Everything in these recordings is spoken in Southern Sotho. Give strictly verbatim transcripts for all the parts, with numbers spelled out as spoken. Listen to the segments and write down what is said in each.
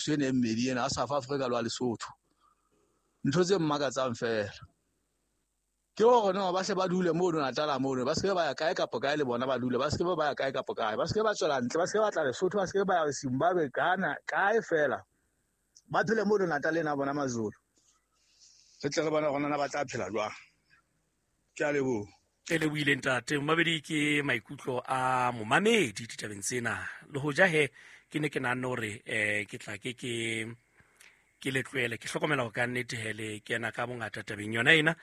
Ena e mmedi ena a South Africa le wa Lesotho. Ntho tse mmakatsang fela ke hore no ba hle ba dule mono Natala mono, ba se ke ba ya kae kapa kae, le bona ba dule, ba se ke ba ya kae kapa kae, ba se ke ba tswela ntle, ba se ke ba tla Lesotho, ba se ke ba ya Zimbabwe, Ghana, kae fela, ba phele mono Natal ena bona Mazulu, re tle re bone hore na ba tla phela jwang. Ke a leboha. E lebohile ntate momamedi. Ke maikutlo a momamedi ditabeng tsena. Le hoja he ke ne ke nahanne hore um ke tla ke ke ke le tlohele, ke hlokomela hore ka nnete he le kena ka bongata tabeng yona ena,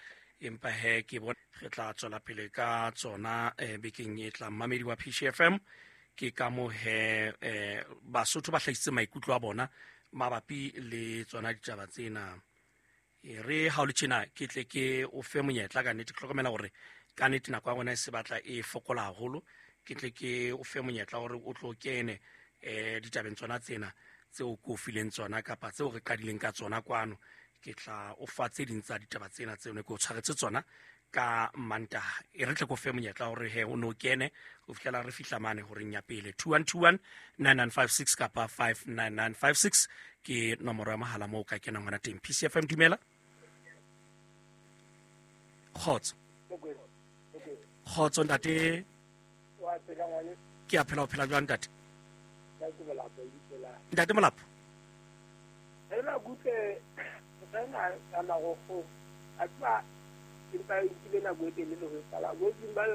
empa he ke bona re tla tswela pele ka tsona um bekeng e tlang. Mamedi wa P C F M, ke ka mo he um Basotho ba hlahisitse maikutlo a bona mabapi le tsona ditaba tsena. E re ha o le tjena, ke tle ke o fe monyetla. Ka nnete ke hlokomela hore ka nnete nako ya rona e se batla e fokola haholo. Ke tle ke o fe monyetla hore o tlo kene um ditabeng tsona tsena tseo ke o fileng tsona kapa tseo re qadileng ka tsona kwano. Ke tla o fa tse ding tsa ditaba tsena tseo ne ke o tshwaretse tsona ka Mantaha. E re tle ko fe monyetla hore he o no kene ho fihlela re fihla mane horeng ya pele. Two one two one nine nine five six kapa five nine nine five six ke nomoro ya mohala moo o ka kenang hona teng. P C F M, dumela. Kgotso, kgotso ntate. Ke a phela. O phela jwang, ntate? Ntate Molapo. Ena kutle tsena ka marokgo a tseba, empa e nkile nako e telele ho e qala bo Zimbabwe.